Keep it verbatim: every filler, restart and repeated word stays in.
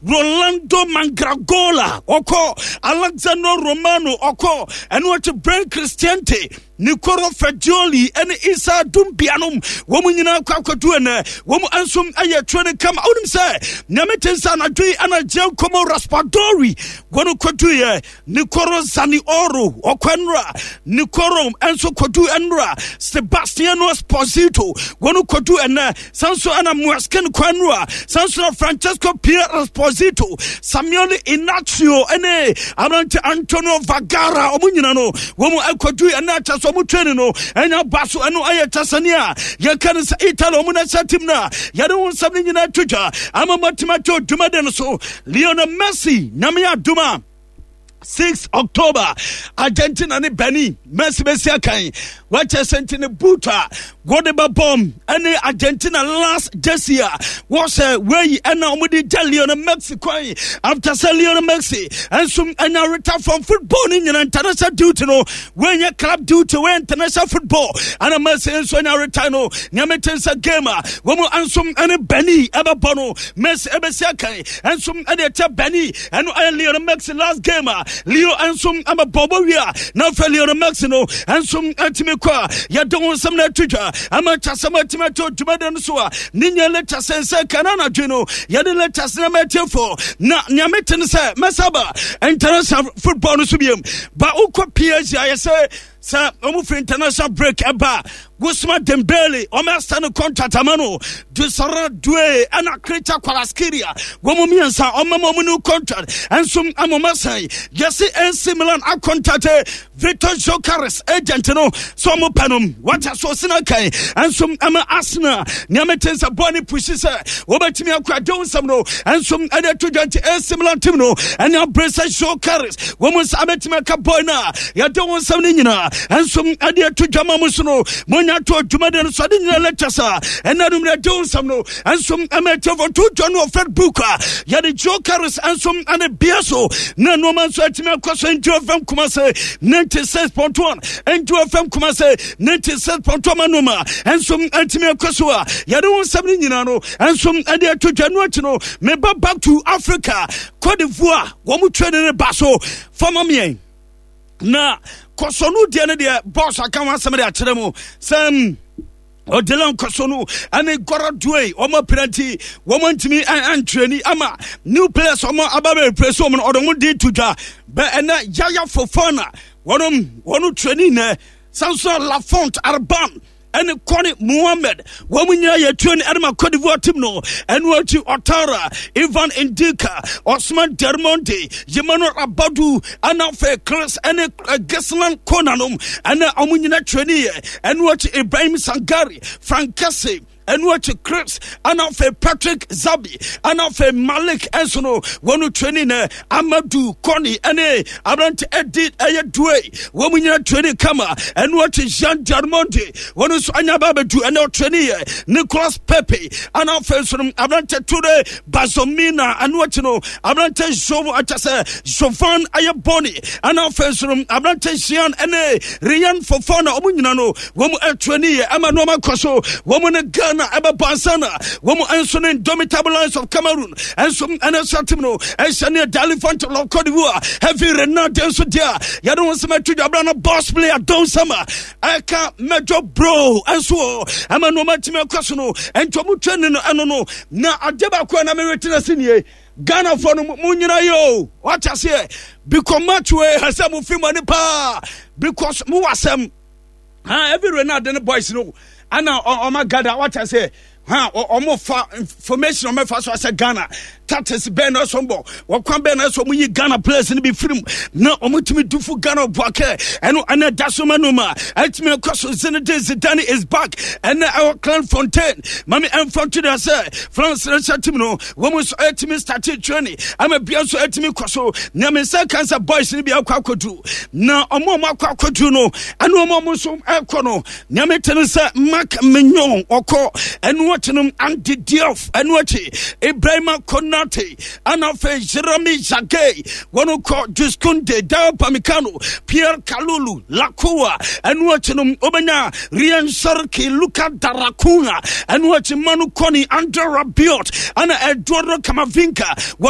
Rolando Mandragora ɔkɔ, Alexandro Romano ɔkɔ, ɛno akyi Bryan Cristante, Nicolo Fagioli ɛne Issa Doumbia nom wɔn nyinaa kɔ akɔdu. Ɛnɛ wɔn nso ayɛ training kama. Wonim sɛ nyame te nsa anadwo yi ɛna Giacomo Raspadori wɔn kɔduyɛ, Nicolo Zaniolo ɔkɔ nnora, Nicolo nso kɔdu nnora, Sebastiano Esposito wɔn kɔdu ɛnɛ, san so ɛna Moise Kean kɔ nnora, san so na Francesco Pierre Esposito, Samuel Inacio ɛne aberante Antonio Vagara, ɔmo nyina no wɔn akɔdu ɛnɛ. Akyɛ sɛ ɔmo training no ɛnya ba so. Ɛno ayɛ kyɛsɛne a yɛka no sɛ Italy ɔmo no ɛsɛ team no a yɛde ho nsɛm no nyinaa to dwa ama matumi atɔ dwumade no so. Lionel Messi, Nyame adom a, six October Argentina ne Benin, Messi bɛsi akan. Wakyɛ sɛ nti ne boot a wɔde bɛbɔm ɛne Argentina last jersey a wɔhyɛ wei ɛna wɔde gya Lionel Messi kwan after sɛ Lionel Messi ɛnso ɛnya retire from football ne nyina. International duty no, wɔnyɛ club duty, wɔyɛ international football, ɛna Messi nso ɛnya retire no. Nyame te sɛ game a wɔn nso ɛne Benin ɛbɛbɔ no, Messi ɛbɛsi akan ɛnso ɛde ɛkyɛ Benin. Ɛno ɛyɛ Lionel Messi last game a Leo nso ɛbɛbɔ bɔ wie a na afei Lionel Messi no nso ɛtumi kɔ a yɛde ho nsɛm no ato dwa ama kyasɛm atumi ato dwumadi no so a ne nya latest sɛ kana anadwo no yɛde latest na matiefo. Na nea mete no sɛ mɛsaba international football no so biom ba wokɔ P S G ayɛ sɛ sɛ ɔmo firi international break ɛba, Ousmane Dembele ɔmo asa no contract ama no, Desire Doue ɛna Khvicha Kvaratskhelia, wɔn mu mmiɛnsa ɔmo ma ɔmo new contract ɛnso ama ɔmo asan. Yɛsi A C Milan acontact Victor Gyokeres agent no sɛ ɔmo pɛ no wata so ɔsena kan ɛnso ama Arsenal. Nea mete sɛ bɔɔl ne push sɛ wɔbɛtumi akɔ agye nsɛm no ɛnso ɛde ato dwa. Nti A C Milan team no ɛne abere sɛ Gyokeres wɔn nsa abɛtumi aka bɔɔl no a yɛde wɔn nsɛm no nyinaa ɛnso ɛde ato dwa ma mo so no monya to adwumade no so ade nyina lectures a ɛna no mmerɛ de wo nsɛm no ɛnso ɛma atiefo to dwa no wɔ Facebook a yɛde Gyokeres ɛnso ɛne bia so na nneɛma nso atumi akɔ so. Nti F M Kumase ninety-six point one, Nti F M Kumase ninety-six point one ma nneɛma ɛnso atumi akɔ so a yɛde wo nsɛm no nyinaa no ɛnso ɛde ato dwa no. Akyi no meba back to Africa, Cote d'Ivoire wɔn mu training ne ba so fama miɛn na kɔsɔno deɛ no deɛ boss aka ho asɛm de akyerɛ mu sɛ ɔdela nkɔso no ɛne Gora Due wɔn apira nti wɔn ntumi antraining ama new players wɔn aba bɛ replace wɔn no ɔde wɔn de to dwa bɛ. Ɛnɛ Yaya Fofana wɔn wɔn training nɛ, Samson Lafont Arban ɛne Kɔne Muhammed wɔn mu nyinaa yɛ training ɛde ma Cote d'Ivoire team no. Ɛno akyi Otara, Ivan Ndika, Osman Dermonde, Emmanuel Abadu ɛna afei Chris ɛne Gislan Konanom ɛna wɔn nyinaa training yɛ. Ɛno akyi Ibrahim Sangari, Frank Kesse, ɛno akyi Chris ɛna afei Patrick Zabi ɛna afei Malik ɛnso no wɔn training nɛ, Amadu Kɔni ɛne aberante ɛdi ɛyɛ Due wɔn mu nyinaa training kama. Ɛno akyi Jean Diarmonde wɔn nso anya ba abɛdu ɛne ɔtraining yɛ, Nicolas Pepe ɛna afei nso no aberante Ture Bazomina. Ɛno akyi no aberante Jovo akyɛ sɛ Jovan ayɛ Bɔni ɛna afei nso no aberante Jean ɛne Rian Fofana, wɔn nyinaa no wɔn mu ɛtraining yɛ ɛma nneɛma kɔ so. Wɔn ne Ghana ɛbɛbɔ ansa na wɔn nso ne Indomitable Lions of Cameroon ɛnso ɛne nso team no ɛhyɛ ne Elephant of Cote d'Ivoire. Hervé Renard nso deɛ a yɛde wɔn nsɛm atwi dwabra no, boss player Don Sama ɛka Major bro ɛnso wɔ ɛma nneɛma tumi akɔ so no. Ɛnti wɔn training no ɛno no na adeɛ baako a na mewetena se nie, Ghanafoɔ no mu nyina yi o wate aseɛ because match wei ɛsɛ mo fi mo ani paa because mo wɔ asɛm ha. Hervé Renard ne boys no ana ɔma gada wate aseɛ ha, ɔmo fa information ɔmo fa so asɛ Ghana tactics bɛn na ɛsɔ bɔ wɔkwan bɛn na ɛsɔ ɔmo yi Ghana players no bi firim na ɔmo tumi dufu Ghana buakɛ. Ɛno ɛna da so ma no ma ɛtumi akɔ so. Zinedine Zidane is back ɛnɛ ɛwɔ Clairefontaine. Mami ɛnfa nto deɛ sɛ France national team no wɔn nso ɛtumi start training ama bia nso ɛtumi kɔ so. Nea me nsa kan sɛ boys no bi akɔ akɔdu na ɔmo ɔmo akɔ akɔdu no ɛne ɔmo ɔmo nso ɛkɔ no. Nea me te no sɛ Marc Maignan ɔkɔ, ɛno akyi no Andy Diouf, ɛno akyi Ibrahima Konate ɛna afei Jeremy Jacquet wɔn kɔ, Jules Kounde, Dayot Upamecano, Pierre Kalulu Lacroix, ɛno akyi no wobɛnya Rayan Cherki, Luca Daracuna, ɛno akyi Manu Kone, Andre Rabiot ɛna Eduardo Camavinga wɔn.